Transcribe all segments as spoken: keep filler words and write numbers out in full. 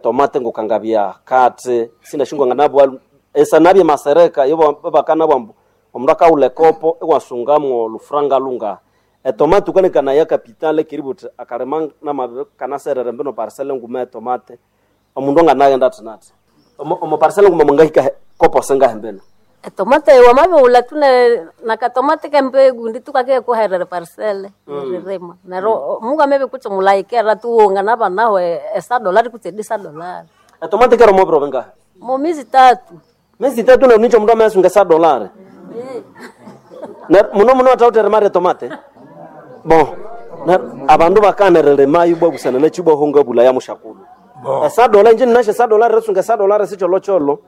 Tomate ngukangabya kati sindashingwa nganabwa esanabye masereka ibo bakanabwa mbu omundu akaghulha ekopo iwasungamwo olufuranga lunga etomate ukanekana ya capital kiributhi akalima namabi kanaserere mbino parcel nguma etomate omundu anganaghenda athi nathi omo omo parcel nguma mungahika kopo singahe mbino. Etomate wamabighulha tu ne- nakatomate kembegu ndi tukake kuherera parcele ririma neryo mungamebe kutse mulayikera tuwonga nabanaho esadolari kutse edisadolari Etomate kero mobiro bingahe? mumizi tatu. Miezi itatu na nicho mundu amayasunga esadolari Ner- muno muno atawuthere mari etomate bon ner- abandu bakanereremayo bwabusana nakibwahonga bulaya mushakulu. Bo. Esadola inje ninasho esadolari risunga esadolari sicholocolo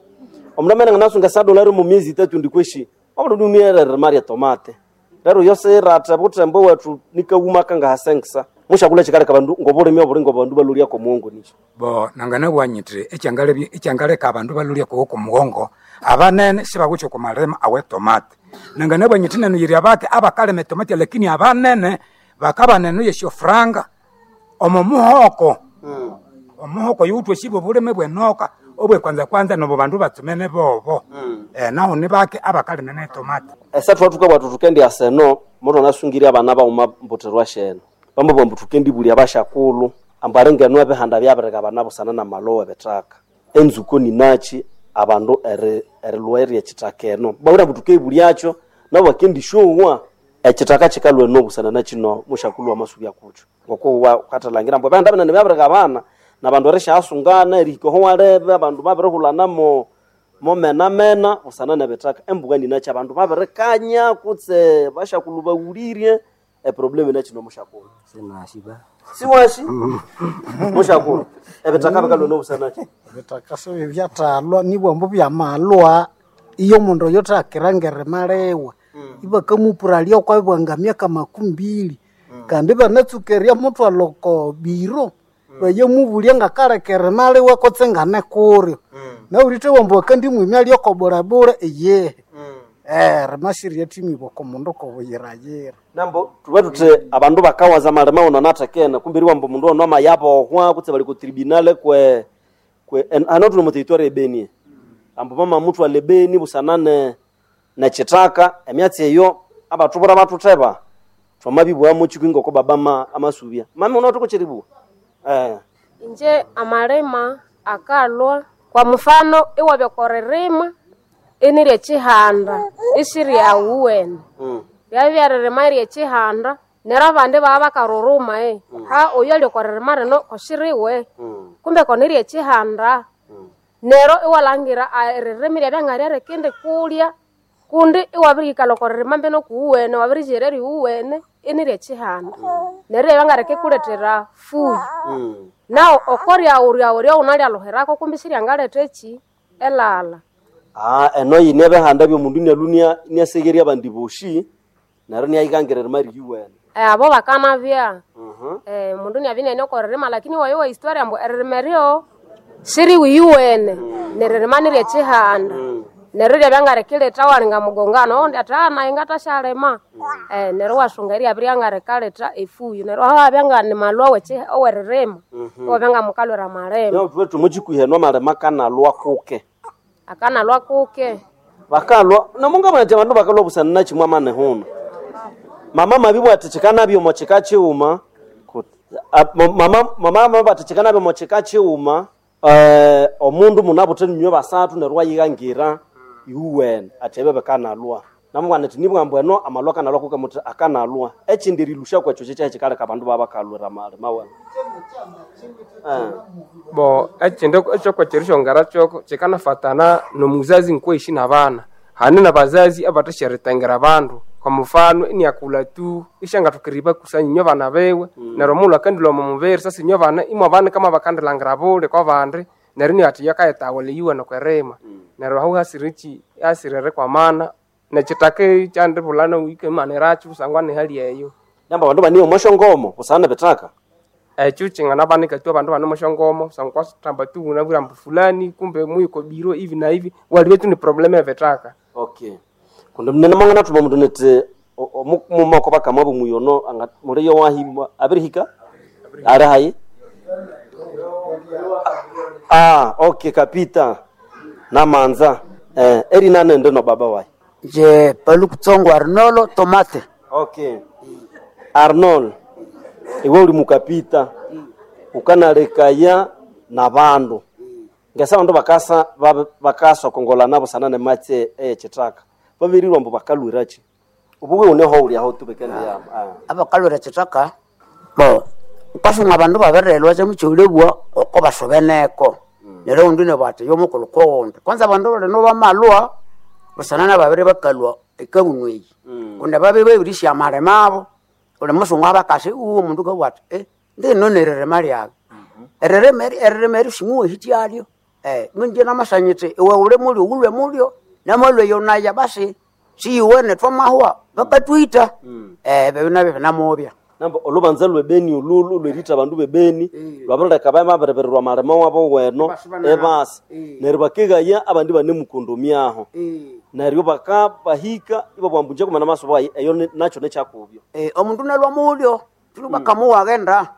omundu amene nganasunga esadolari mu miezi itatu ndikweshi omundu nunierere mari etomate rero yosirate butembo wethu nikawuma kangahasengisa mushakulu ekikaleka abandu ngobulimi obuli ngobandu balulyako omuwongo nicho. Bo nanganabugha nyithi ekyangalebya ekyangaleka abandu balulya kuwo kumughongo abanene sibawithe okwa malima awe tomate. Nanganabugha nyithi nenu yiri abake abakalima etomate lakini abanene bakabana eno yesyofuranga omo muhoko. Omuhoko yuwithe osi bwobulime bwenoka obwekwanza kwanza nobo bandu batsumene bobo. Eh, nahu nibake abakalima netomate. Esa thukabwa thuthi thukendyasa eno mutu anasungirya abana baghuma mbutherwa sheno bamabugha ambu thukendibulya abashakulhu ambu aringenu ebihanda byabireka abana busana namalowa ebithaka enzuko ninakyi abandu eri- erilhwa eryekithaka eno bawira ambu thukebulyakyo nabo bakendisyowa ekithaka kikalhwa eno busana nakino mushakulhu wamasubya kukyo ngokuwa wukathalangira ambu ebihanda binene byabireka abana nabandu erisyaasungana erihika oho walebe abandu babirihulana momenamena busana nebithaka embuka ninakyi abandu babirikanya kutse bashakulhu bawulirye eproblem inakino mushakulhu. Sinashiba. Siwashi mushakulhu ebithaka bikalhwa nobusanakyi. Ebithaka sibibyathalwa nibwambu byamalwa iyo omundu oyo thakira ngerima liwe ibakamupuralya okwabwanga myaka makumi mbili kandi ibanatsuka eryamuthwalha oko biro bayamubulya ngakaleka erima liwe kutse nganekuryo nawulithe wambu bakandimwimya lyoko bulebule iyihi. Eh, rima siryathimibwa oko mundu kobuyirayira. Nambo thuba thuthi abandu bakawaza amalima wuno anathekene kumbe eriwamba omundu ono amayabohwa kutse bali ku tribunal kwe kwe en- hano thuli omu territory ebeni ambu bamamuthwalha ebeni busana ne nekithaka emyatsi eyo abathubura bathutheba thwamabibughamu kikwi ngoko baba ama- amasubya mami unawithe kukyeribugha eh. Inje amalima akalwa kwa mfano iwabya okoririma inirye kyihanda isiryawuwene mm. byabya rima ryekihanda neryo abandi baba bakaruruma eh ha oyu ali okoririma rino koshiriwe Mm. kumbe koni ryekihanda neryo iwalhangira ah, eririmi ryabya ngaryarikindi kulya kundi iwabirihikalha okoririma mbino kuwuwene wabirikyera eryuwuwene iniryekihanda neryo ryabya ngarikikulethera fuyo. Mm. Nawu okoryawu ryawu ryawunalyaluhirako kumbi siryangaletha eki elala. Ah, eno yine ebihanda byomundu inalwa inia- iniasegherya abandi boshi neryo iniayikangira erima riyuwene. Eh, abo bakanabya Mhm. eh, mundu niabya iniane okoririma lakini wayowa historia ambu eririma eryo siriwiyuwene neririma niryekihanda neryo ryabya ngarikiletha walinga mugongano oundi athi "Ah, nayi ngathashalima." Eh, neryo iwasunga eryabya ryangarikalhetha efuyo neryo aho habya ngani malwa wekyi- oweririma iwabya ngamukalhwira amalima. Nao thuba thumukyikwiha eno amalima akanalwa kuke Akanalwa kuke. bakalwa namungabona ati abandu bakalwa busana nakimwe amani huna mama mabibwa ati kikanabya omo kika kighuma Kut- a- ma- mama mama mabibwa ati kikanabya omo kika kighuma eh, omundu munabuthe ninywe basathu neryo wayighangira iwuwene ati ebyo bikanalwa namubwana ati nibwambu eno amalwa akanalwa kuke muthi akanalwa ekindi erilusha kwekyo kyekyahi kikaleka abandu babakalwira amalima wene. Eh. Bo ekindi ekyokwekyerishongera kyoko kyikanafatana nomuzazi nkweishi nabana hane nabazazi abathasyarithengera abandu kwa mufano iniakulha tu isyangathokera eribakusanya inywe abana biwe neryo omughulhu akandilhwa omo mubiri sasa inywe abana imwe abana kama bakandilhangira buli kwabandi neryo iniathi yakayithawula eyuwene okwerima neryo ahu hasireki hasiri erikwamana nekyithaka ekyandibulha wikimanirakyo kusangwa nihali eyo. Namba abandu baniyo omwasyongomo busana nebithaka. Ekyo kyanganabanika tu abandu bane omwasyongomo kusangwa kwathamba tu unabwire ambu fulani kumbe muyiko biro ivi na ivi walibya tu ni problem ebithaka. Okay kundi munene mwanganathuma omundu nithi mumoko bakama bomuyono anga muliyo wahi abirihika ali hayi. Ah, okay kapita namanza eh, erinanende no baba wayi Je palukutsongo Arnolo Tomate. Okay. Arnold, iwe uli mukapita ukanalekaya na bandu ngesa bandu bakasa ba- bakasokongolana nabo sana ne matse eyechitaka babirirwa mbu bakalwirachi ubuwe uneho uli aho tubekende ya ah. Abakalwira chitaka bo ukasunga abandu babirelwa kyemukyolebwa oko basobeneko neryo oundi nabwati yomukulhu kowundi kwanza abandu balino bamalwa busana nababiri bakalwa ekabunu eyi kundi babiri babirisya amalima abo uli musungu abakasi uwo omundu kabwa ati eh, ndino neririma lyabe eririma eri- eririma eri simuwahityalyo eh, minje namasanyithe iwe uli mulyo wulwe mulyo namalwe yonaya basi siyiwene twamahwa bakatwita eh, ebyo nabyo binamubya namba olubanza lwebeni olulu lwerita abandu bebeni lwabirileka bamabirebererwa amalima wabo weno ebasa neryo bakegaya abandi banemukondomyaho neryo baka bahika ibabwambunja kumana maso bayi eyo ni- nakyo nekyakubyo Eh, omundu nalwa mulyo tuli bakamuwaghenda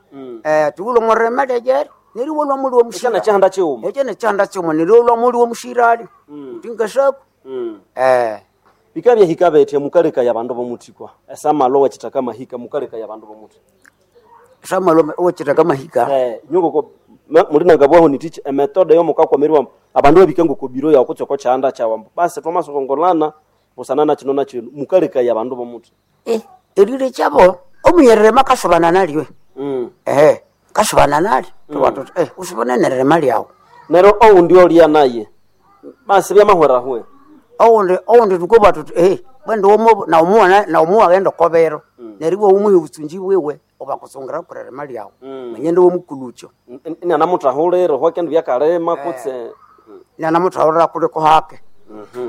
eh, tiwulwa omurima lyejeri neryo iwalwa muli ekyana womushira kyahanda kiwuma ekyo nekyanda kyuma neryo iwalwa muli womushirali utingasaku eh, bika byahika betya mukalekaya abandu bomuthikwa esamalo wekithaka mahika mukalekaya abandu bomuthi samalo owekithaka mahika eh nyongoko mulinanga bwaho nitichi emetode yomukakwamiriwa abandu babika ngokobiro yawo kutse oko kyahanda kyawambo basi twamasokongolana busana nakino nakino mukalekaya abandu bomuthi Eh, erire kyabo omunyererema akasubana nalyo mm. ehe kasubana nalyo tuba eh, usubane nererema lyawu neryo oundi olya naye basi byamahwerahwe owundi owundi tukubwa tuti eh, bwende womu naumuwa naumuwa ghenda okobero neryo iwe umuhe obutsunji bwiwe obakusungira kurerema lyawu manyende womukulukyo inanamutahulire hwakendu byakalima kutse nanamuthahulira kuliko hake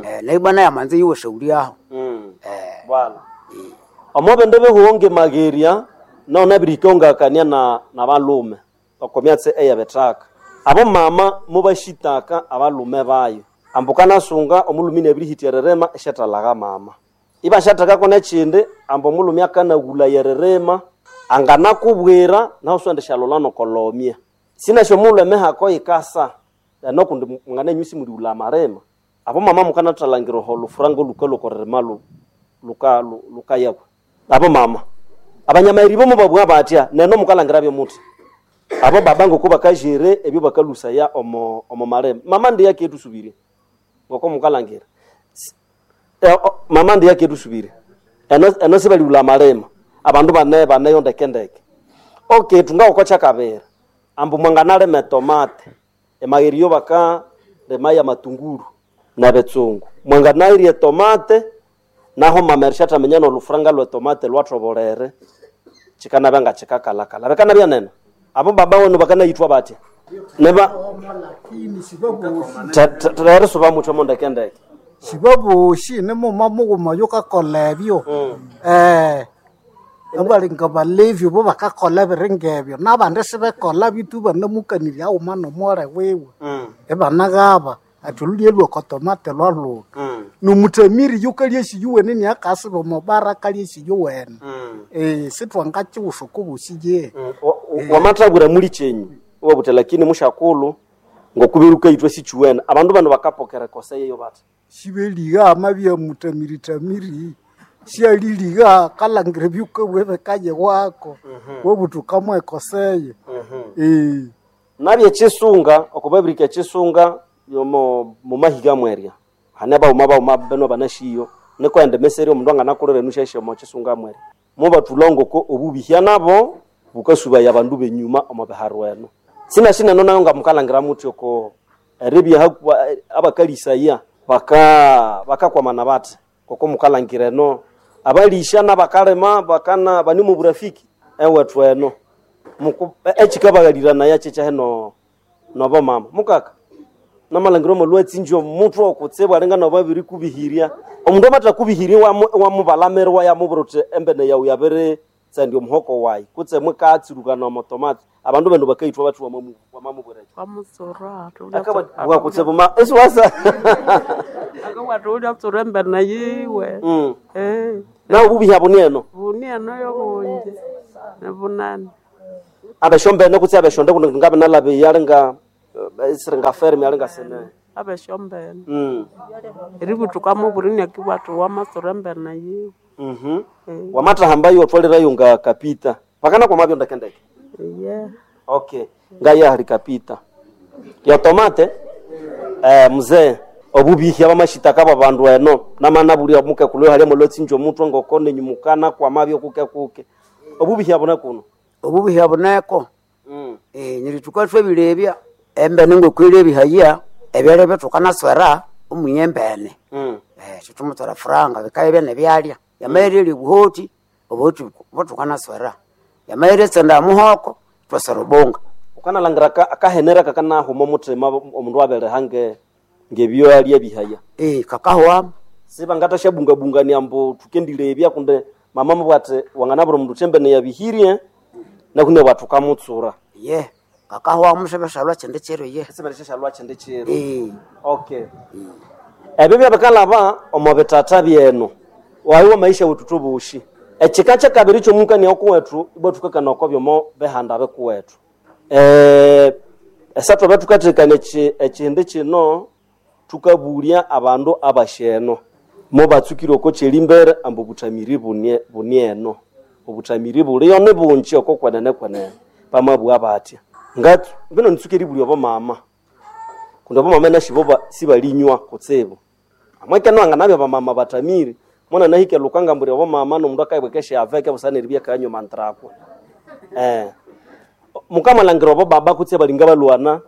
eh, naibwa naye amanze yiwe shauri aho mm. eh, bwana omo bindu bihuonge mageria no nabirikongakania na na balume okomyatse eyebithaka abo mama mubashitaka abalume bayo ambu kanasunga omulumi nebirihitya eririma esyathalaga mama ibasyathekako nekindi ambu omulumi akanagulaya eririma anganakubwira nahu siwende syalolha nokolomya sinasyo omulhu emihako yikasa enokundi mwanganenyu simulighulha amarima abo mama mukanathalangira oho olufuranga oluka lwokoririma lu- luka lu- lukayakwa abo mama abanyamairi bomo babugha batya neno mukalangira byomuthi abo baba ngoko bakajere ebyo bakalusaya omo omo marema mama ndiye aketusubire ngoko mukalangira S- eh, o- mama ndiye aketusubire eno eno sibalighulha amarema abandu bane baneyo ndekendeke okay tungawukocha kabiri ambu mwanganalima etomate emagheri yo bakalima ya matunguru nebitsungu mwanganairya etomate naho mama erishataminya nolufuranga lwetomate lwathobolere kikanabya nga kikakalakala bikanabya nene abo baba wenu bakanayithwa batya neba Lakini sibabosi terisuba mutho mondekendeke sibabosi nimuma mughuma yukakola ebyo eh abalinga balevi bo bakakola ebiringa ebyo nabandi sibekola bitu banamukanirya aghuma nomwole wiwe ibanaghaba ati olulye lwokotomate lwalhuka nomuthamiri yukalya esiyuwene niakasiba omobara akalya esiyuwene eh sithwangakiwusa okubosi ye wamathabwira muli kyenyu iwabutha lakini mushakulhu ngokubiruka ithwe sichiwene abandu bano bakapokera ekosa yeyo bathi sibeliga amabya muthamiri-thamiri syaliliga kalangira ebyukabwa bikaye wako wobutuka mwekoseye eh nabye ekisunga okubabirika ekisunga yomo mumahiga mwerya hane bauma bauma beno banashiyo niko ende meseri omundu anganakolera enushashe omo kisunga mwerya mubathulha ngoko obubihya nabo bukasubaya abandu benyuma omo biharu eno sinashineno nayo nga mukalangira muthi oko eribya hakuwa abakalisaya baka bakakwamana bathi koko mukalangira eno abalisha nabakalima bakana bani mu burafiki ewethu eno Muku- ekikabaghalirana kyekya nobo mama mukaka namalangiro omolwatsinji omuthu okutsibu alinga nobabiri kubihirya omundu amatha kubihirya wamu- wamubalamira wayamubwira uthi embene yawu yabiri tsandya omuhoko wayi kutse mukatsirukana omotomati abandu bano bakaithwa bathi wamamu- wamamubwira ekyo Wamutsura akabwa kutsibu ma esiwasa akabwatha ulyatsura embene yiwe Mm. Eh, nawe obubihi abo nieno buni eno yobungi nibunene Abeshombene kutse abeshonde kuno ngabe nalabe yalinga isiringa fermi alinga sene. Abeshombene. Mm. Eributuka muburi nyakibwathu wamatsura embene yiwe. Mhm. Wamatahamba yo twalirayo nga kapita. Pakana kwa mabyo ndekendeke. Iye. Okay. Ngaya hali kapita. Ya tomate eh mzee obubihi abamashitaka babandu eno namana buli omuke kulwe hali mulotsinjo omutwe ngokone nyumukana kwa mabyo kuke kuke. Obubihi abona kuno. Obubihi buneko. Mm. Eh nyirituka twebilebya embene ngokwilebihaya ebyalya byetukanaswera omunyembene. Mm. Eh tutumutsora franga bikaye byane byalya. Yamaere buhoti obuhoti butukanaswera. Yamaere tsenda muhoko twasera obonga. Ukanalangira ka akahenera kakanahuma omuthima omundu abere hange ngebyo alya bihaya. Eh kakahwa Siba ngatashabungabungania mbu tukendilebya kunde mama mubwate wanganabura omundu thembene yabihirie nakune bwathu kamutsura. ye kakahwa musebeshalwa chende chero ye. Esiberesha chende chero. Eh Okay. Ebyo byabikalaba omu bitata byenu waliwo maisha wetu tubushi ekika kyakabiri kyomukania okuwethu ibwa thukakana oko byomo bihanda bikuwethu eh esathu betukathekana ekihindi kino thukabulya abandu abasheno mo batsukire oko kyelimbere ambu obuthamiri bunie bunieno obuthamiri buliyo nibungi oko kwenene kwenene bamabugha batya ngatsu mbino nitsuka eribulya obo mama kundi abamama nashibo ba- sibalinywa kutsibu amwekeno anganabya bamama bathamiri mwana nahike lukanga mburi abamama nomundu akaibwekesha aveke busana eribya kanywa mantrakwa eh mukamalhangira obo baba kutse balinga balwana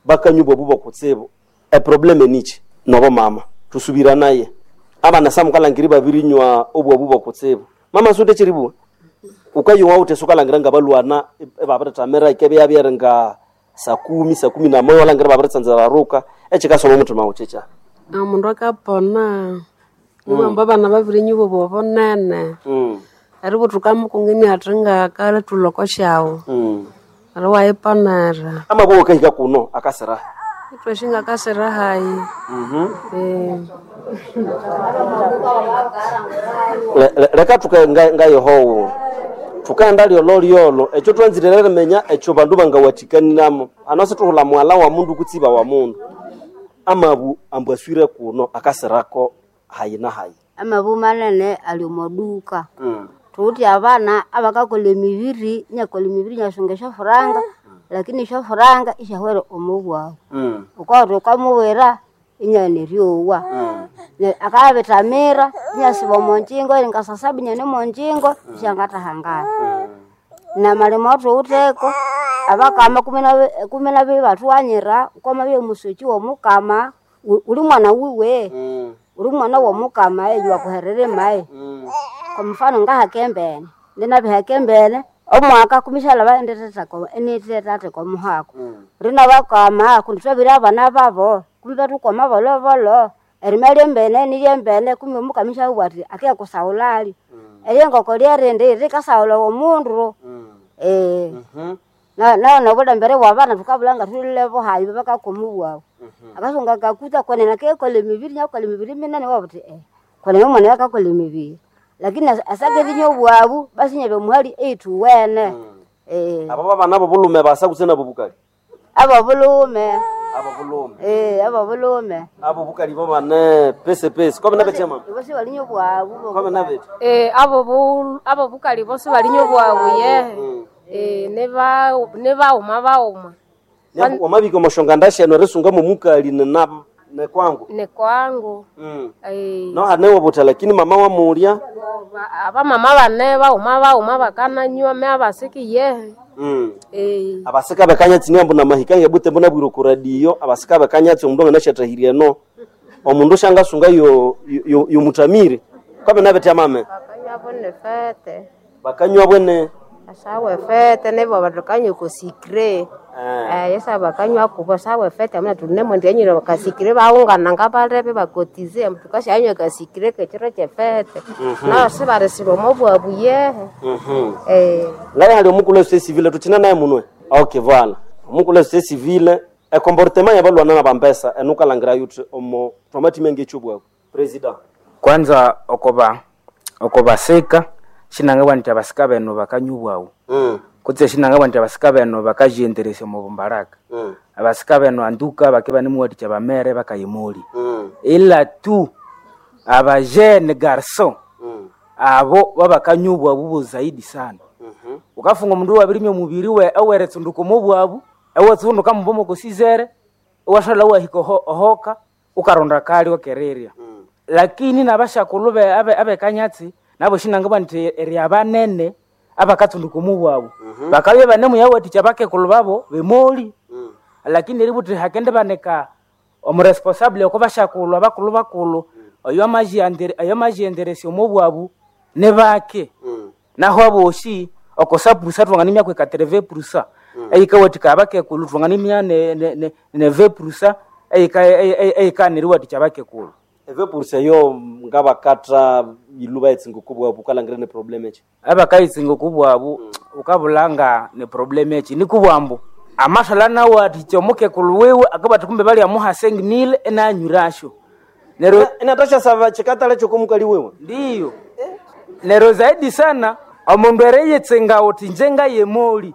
bakanywa obu bokutsibu eprobleme nichi nobo mama tusubira naye abana samukalangiri babirinywa obwabu bokutsibu mama sute chiribuwa ukayowa ute sukalangira nga balwana ebabiritamira ikebe yabyere nga saa kumi saa kumi na moya walangira babiritsanzira ruka ekikasoma omuthima wuchicha Omundu akapona niwamba abana babiri nyubo bobonene mm. eributhuka mukungini athi ngakale thuloko syawu mm. eri wayiponera amaboko kahika kuno akasira ithwesi ngakasira hayi mm-hmm. Eh. Le- le- leka tuke nga- ngayihowo tukaenda lyolo lyolo ekyo twanzire rimenya ekyo bandu bangawathikaniramo ano situhula mwala wa mundu kutsiba wa mundu amabu ambu aswire kuno akasirako hayi na hayi Amabu manene ali omoduka. mm. Thuthi abana abakakolha emibiri inyakolha emibiri inyasunga esyofuranga lakini esyofuranga isyahwera omubwabu. Mm. Wukawatha wukamuwira inyaghana eryowa. Mm. Ne- Akabithamira inyasiba omonjingo eringa saa saba inyane omonjingo isyangathahangana. Namalima awathuwitheko abakama kumi na- kumi nabiri bathughanyira wukamabya omusoki w'omukama wu- wuli mwana wiwe Mm. uli mwana w'omukama eyo wakuherera emayi. Mm. Kwa mfano ngahakembene ndinabihakembene omwaka kumishalaba inithethatheka omuhako rina bakama kundi twabire abana babo kumi bathukoma bolobolo erima lyembene nilyembene kumi omukama ishabugha athi akiyakusaghulali eryengoko lyerindi rikasaghula omundu eh Mhm. na na nobulembere bwabana thukabulha nga thulile buhayi bakakoma obwabu akasunga kakuta kwenene akekolha emibiri nyakolha emibiri minene wabuthi eh kwenene omwana oyo akakolha emibiri lakini asa- asakerinya obwabu basi inyabya omuhali eyithuwene eh abo babana bobulume basa kutse nabo bukali abobulhume abo bulume eh abobulhume abo bukali bobane pese pese kwabe nabetya mama ibo balinya obwabu kwabe nabetya Eh, abo bu- abo bukali bosi balinya obwabu yehe Eh, niba nibaghuma baghuma wamabika omoshonga ndasheno erisunga momukali nina nekwangu ni kwangu mm. Eh, no hanewobuta lakini mama wamulya ba- abamama bane baghuma baghuma bakananywa me abasiki yehe mm. Eh, abasika bekanyatsi niambu na mahika ngebute mbona bwire ku radio abasika bekanyatsi omundu anganashatahirye eno omundu shangasunga yo yo, yo mutamire kwabe nabetya mame Bakanywa bune fete bakanywa bwene asawe fete nibo batukanywa kusikire eh. eh yesa bakanywa kubo sawe fete amuna tunemo ndianyira bakasikire baungana ngabalebe bakotize tukashanywa kasikire kechiro chefete nao sibarisirwa mobwabu yehe mm-hmm. eh ngaye hali omukulu esose civile tuchina naye munwe okay vala omukulu esose civile ecomportement yabalwana na bambesa enukalangira yuthi omo twamathima ngekyobwabu president Kwanza okoba okobasika shinangabwa nti abasika benu bakanywa obwawu mm. Kutse shinanga bwanti abasika beno bakajienderesya omu bumbaraka. Mm. Abasika beno anduka bake banemuwathikya bamere bakayimuli. Mm. Ila tu abajene garçon Mm. abo babakanywa obwabu buzaidi sana. Mhm. Ukafunga omundu wabirimya omubiri we eweretsunduka omu bwabu, ewatsunduka muboma okosizere, ewashalha wahika oho- ohoka, ukaronda kali wakerirya. Mm. Lakini nabashakulhu be- abe- abekanyatsi nabo shinangabwa nti eri abanene abakatsunduka omu bwabu. Bakabya banemuyawathikya abakekulhu babo bemoli. Mm. Lakini eributhi hakende banika omuresponsable oko bashakulhu abakulhu bakulhu oyo amajiandere oyo amajienderesya omu bwabu nibake. Mm. Naho abosi okosa purusa twanganimya kwekatereve purusa eyikawathika abakekulhu twanganimya ne, ne, ne, neve purusa eyikaneriwathikya abakekulhu. Eve pursa yo ngabakatha iluba etsinga okubwabu ukalhangira ne problem echi. Abakayitsinga okubwabu ukabulanga ne problem eki nikubwambu amashalha nawathikya omukekulhu wiwe akabathi kumbe balyamuha sengimile enanywirasyo neryo Inatasha sava chikatale chokomukali wewe. Ndiyo neryo zaidi sana omundu ereyitsinga uthi nje ngayemoli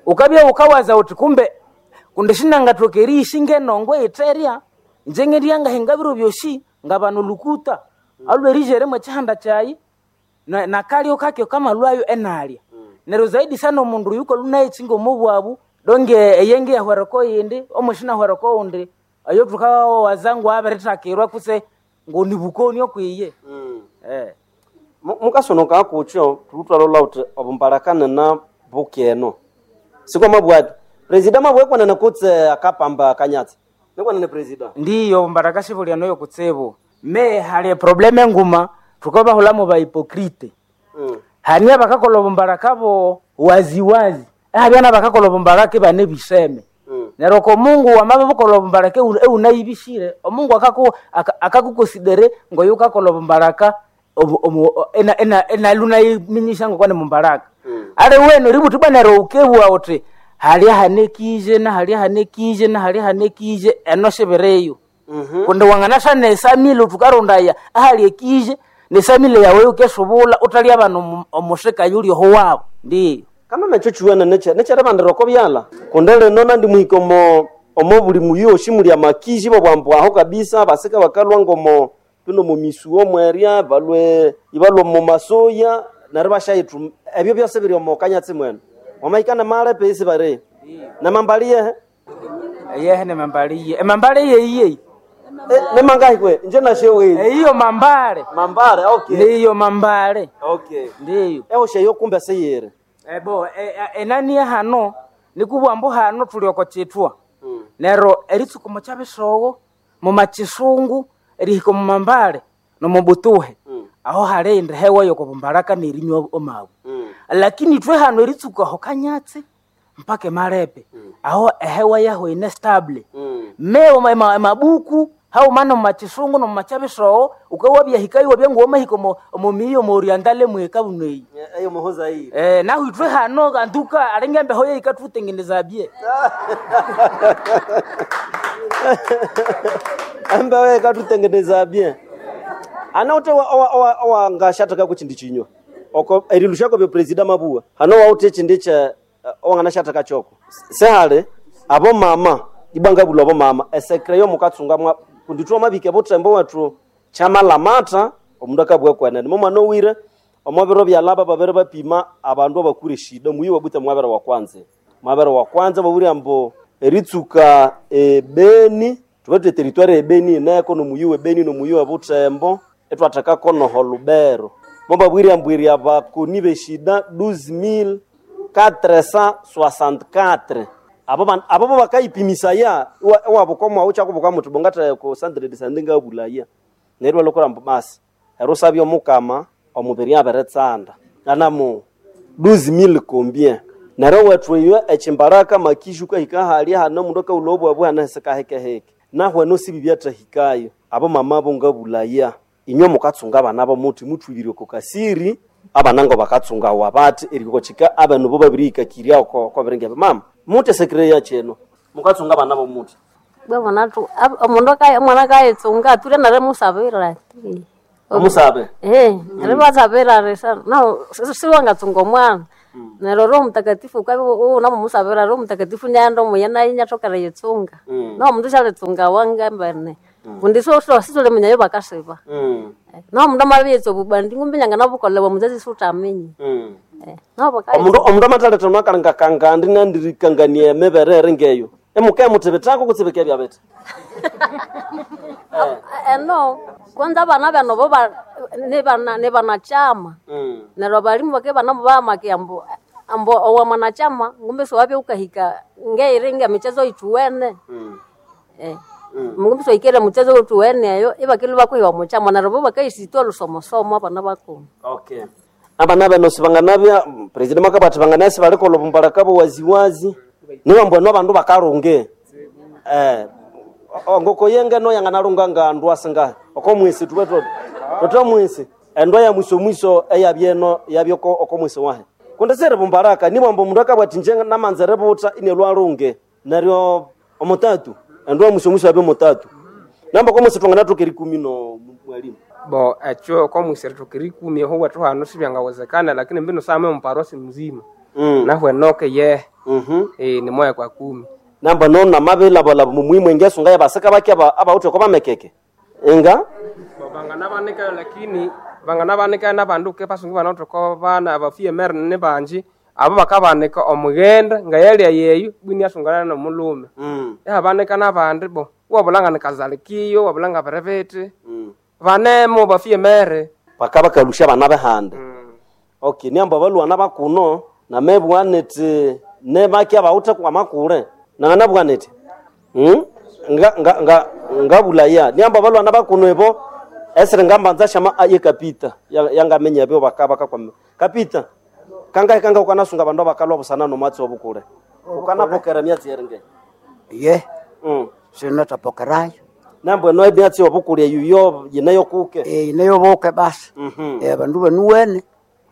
ukabya ukawaza uthi kumbe kundi shinangathoka eriyishi ngenongo eyitherya nje ngendya ngahinga biro byosi ngabana olukuta alwerijere mwekihanda kyayi na- nakalyo kakyo kamalwayo enalya neryo zaidi sana omundu oyu kalunayitsinga omu bwabu donge eyenge yahwereko yindi omushinahwereko undi oyo thukawaza ngu abirithakirwa kutse ngonibukoni okwiye. Mm. Eh. Mukasonoka kutyo tulutwalola uthi obumbaraka nina bukeno. Siko mabwati. Presida mabwekwanene kutse akapamba kanyatsi. Nikwanene presida. Ndiyo mbaraka shivulya noyo kutsibu me hali probleme nguma tukabahulamu ba hypocrite. Mm. Hania bakakola obumbaraka bo waziwazi abyana bakakola obumbaraka bane biseme. Mm. Neryo ko Mungu wamabe bukola obumbaraka ewu- eunayibishire omungu akaku aka- akakukonsidere ngoyo ukakola obumbaraka obu- omu- o- ena ena enalunayiminyisha ngokwane mumbaraka. Mm. Ale wenu ributhi bwana neryo ukebwa uthi halya hanekije na halya hanekije na halya hanekije eno shibireyo. Mhm. Kundi wanganasha nesamile uthukarondaya ahali ekije nesamile yawe ukesubula utalya bana omushika yuli oho wabo ndiyo. Kama mecho chiwene neche necherevandira oko byala kundi lino nandi muhika omo omo buli muyoshi muli amakiji babwambu aho kabisa basika bakalwa ngomo bino mumisuo mwerya balwe ibalwa omu masoya neryo bashayithu ebyo byose biri omo kanyatsi mwene wamahika nemale pesi bari nemambali yehe. Yehe nemambali ye emambali yeyiye. Eh, nemangahi kwe nje nashewe eyiyo mambale mambale okay ndiyo mambale okay ndiyo ehosheyo kumbe seyere. Ebo e- e- enani hano nikubwambu hano tuli oko chithwa. Mm. Neryo eritsuka omo kyabisogo mumachisungu erihika omu mambale nomubutuhe. Mm. Aho hali indi hewa yokobumbaraka nerinywa omabu. Mm. Lakini ithwe hano eritsuka aho kanyatsi mpaka emalepe aho ehewa yaho ine stable. Mm. Mewo ma- ma- mabuku haumana mumachisungu nomumakyabisogo ukawabyahikayo wabya wamahika omo omo miyi omo orientale mweka buneyi. Eyo muhoza iyi. Eh, naho ithwe hano anduka alinga embeho yeikathutengeneza bye. Ambawe katutengeneza bien ana ute owangashataka kuchindi chinywa oko erilushako byo presida mabua hano waute chindi cha owanganashataka choko sehale abo mama ibanga bulwa abo mama esekre yo mukatsunga mwa kunditwa mabike butembo wethu chamalamata omundu akabwa kwenene momwana owire omwabiro byalaba babere bapima abandu abakure shida muyi wabute mwabere wa kwanza mwabere wa kwanza baburi ambo eritsuka ebeni tubatwe territoire ebeni ineko nomuyi webeni nomuyi wa butembo etwathekako noho lubero mobabwire ambwiri abakoni beshida douze mille quatre cent soixante-quatre abo ban- abo bo bakayipimisaya iwabukomwawu kyakubuka muthi bongathe ku centre de santé ngabulaya neryo balokora mbu basi erusabya omukama omubiri abiritsanda anamu douze mille combien neryo wethu eyo ekimbaraka makishu kahika halya hana omundu akaghulha obwabu hana hisikahekeheke nahweno sibi byathahikayo abo mama bo ngabulaya inywe mukatsunga abana bo muthi muthubire oko kasiri abana ngo bakatsungawa bathi eriko kika abana bo babirihikakirya oko kobiringe mama muthi esekere yakyeno mukatsunga abana bo muthi Bwabona tu ab- omundu akaye omwana akayitsunga ature narimusabira omusabe Eh, narimusabira risa no siwangatsunga omwana. Neryo Roho Mtakatifu ukabya unamumusabira Roho Mtakatifu nyaghenda omuye nayo inyathoka eriyitsunga. Nomundu syalitsunga wangembene. Kundi sithuliminyayo bakasiba. Nomundu amabiyitsa obubandi ngumbi nyanganabukolebwa omuzazi siwuthaminya. Nobo Omundu omundu amathaletha nakalinga kangandi nandirikangania emibere eri ngeyo. Emuke muthibithako kutse bikebya bithi. Eno kwanza abana bano bo ba- ni ni banachama. Neryo abalimu bake banamubahamake ambu ambu owa mwanachama ngumbi siwabya wukahika ngeiri ngemichezo yithuwene. Eh. Ngumbi siwahikere muchezo wuthuwene eyo ibakilwa bakuhiwa omuchama neryo bo bakayisitwa olusomosomo abana bakuma. Okay. Abana bano sibanganabya president makabati banganasi balikolha obumbalaka bowaziwazi niba mbwenu abandu bakalunge. Eh ngoko yenge no yanganalunga ngandu asingahe oko mwisi tuwe tot toto mwisi endwa ya mwiso mwiso eyabyeno yabyoko oko mwisi wahe kundi siri bumbaraka niba mbu mundu akabwati nje namanza eributa inelwalunge neryo omutatu endwa ya mwiso mwiso yabyo mutatu namba ko mwisi twanganathoka erikumi no mwalimu bo ekyo komwisiri thukirikumi eho wethu hano sibyangawezekana lakini mbino same muparosi mzima mm. nahu enoke ye mhm eh, ni moya kwa kumi namba no namabilabalabu mumuimu engesunga yabasika baki aba abawuthe ko bamekeke inga Bo banganabanikayo lakini banganabanikayo nabandu ke basungu banathoka bana abafie mere ni banji abo bakabanika omughenda ngayalya yeyo bwini asungana nomulume mm. yabanika nabandi bo wabulanga nikazalikiyo wabulanga biribiti mm. banemo bafie mere baka bakalusha abana behande mm. okay niamba abalwana bakuno namebwa niti nebaki abawuthe kwamakule nanganabwa niti hmm? nga, nga, nga, ngabulaya niamba abalwana bakuno ebo esiri ngambanza shama ye kapita Ya- yangamenya ebyo baka bakakwame kapita kangahe kanga ukanasunga abandu abakalwa busana nomwatsi obukule ukanapokera emyatsi eringe ye mm. sinatapokerayo nambwe no emyatsi obukule eyo yineyo kuke Eh, neyoboke basi Mhm. Eh, abandu banuwene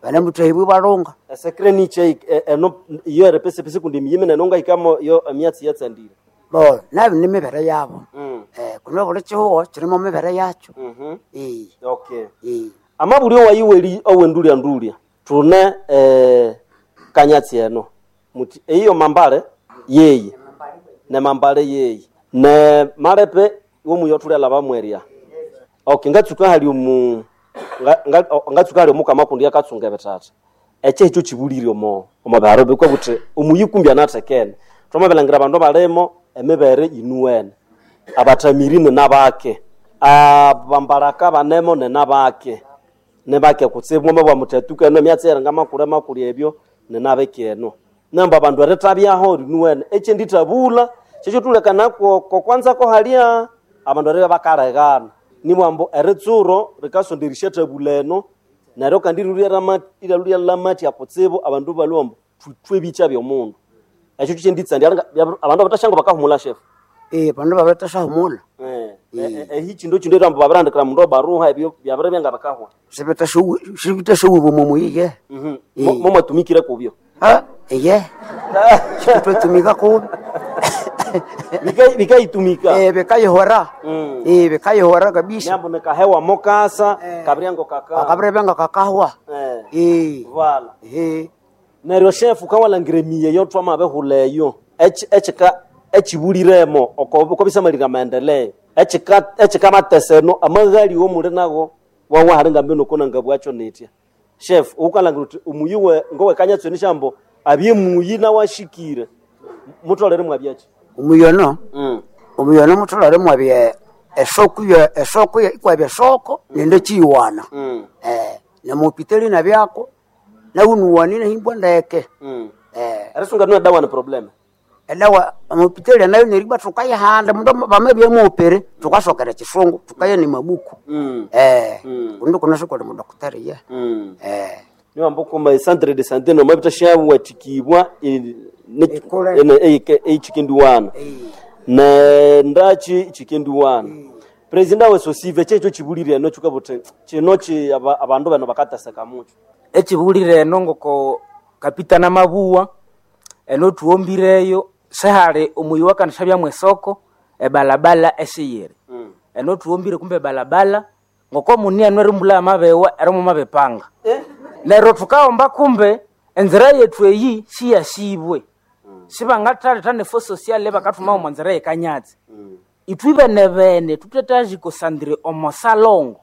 banemuthahibwe balunga esekreniche eno iyo erepesepese kundi emiyimene nongaikamo yo emyatsi yatsandire bo nabi nimibere yabo mm. Eh, kuno buli kihugo kirimo mibere yakyo mm Eh, okay eh. amabuli owayiweli owendulya ndulya tune eh, kanyatsi eno muti eyiyo mambale yeyi ne mambale yeyi ne malepe womuyo thulyala bamwerya okay ngatsuka hali omu nga- nga- o- ngatsuka hali omukama kundi yakatsunga ebithatha ekyo ekyo kibulire omo omo biharo bikwe buthi omuyikumbi anathekene thwamabilangira abandu balimo emibere yinuwene abathamiri ninabake abambalaka banemo ninabake nibake kutsibu mwamabwa muthatuka eno emyatsi eringa makulu makulu ebyo ninabeke eno namba abandu erithabyaho rinuwene ekyendithabula kyekyo thulekana kokwanza kohalya abandu eribya bakalegana nibwambu eritsuro rikasonderisya thabula eno neryo kandi iryalurya lamathya kutsibu abandu balwa ambu thwithwe ebikya byomundu ekyo kyenditsandya abandu abathasyango bakahumula shefu Eh, bandu babitasahumula ehi chindu chindu erambu babirandikira mundu obaruha ebyo byabiri byanga bakahwa sibitashuwiwe mumuyiye momwatumikire kubyo Ha, iye sikutwetumika kubi Bika- bikaitumika Eh, bikayihora Mm. Eh, bikayihora kabisa nyambu nikahewa mokasa kabiryango kaka kakabire byanga kakahwa Eh, Eh, vala eh. neryo shefu kawalangira emiye yotwamabihula eyo Eki- ekika ekibuliremo okobisamalira amaendeleo ekika ekikamatesa eno amaghali womuli nago wawahali ngambino kona bwacho nitya chef ukalangira uthi omuyi we ngowekanya shambo abye muyi nawashikire mutolere mwabyaki omuyono mm. omuyono mutholere mwabye esoko ye esoko ye ikwabya esoko nende chiyiwana mm. eh nemupiteli nabyako naunuwanine himbwa ndeke mm. eh erisunga nuna dawa ni problem edawa amupiteli nayo neribwa tukayihanda mundu bamabye mupere tukasokera chisungu tukaya ni mabuku mm. eh Mm. kundu kunasokole mudokitari ye mm. eh niwambukuma centre de santé nomabita shawathikibwa Ikule. eichikendiwana ne ndachi chikendiwana president we sosive checho chibulire eno chikabuti chino chi aba- abandu bano bakataseka mucho ekibulire eno ngoko kapita namabuwa eno thuwombireyo sihali omuyi wakandishabya mwesoko ebalabala esiyiri mm. eno thuwombire kumbe ebalabala ngoko muni eno erimbula amabewa erimu mabepanga eh? neryo thukahomba kumbe Enzira yetu eyi siyasibwe. Sibangathaletha nefo sociale bakathuma omo nzira yekanyatsi. Ithwe bene bene thutetazikosandire omo salongo.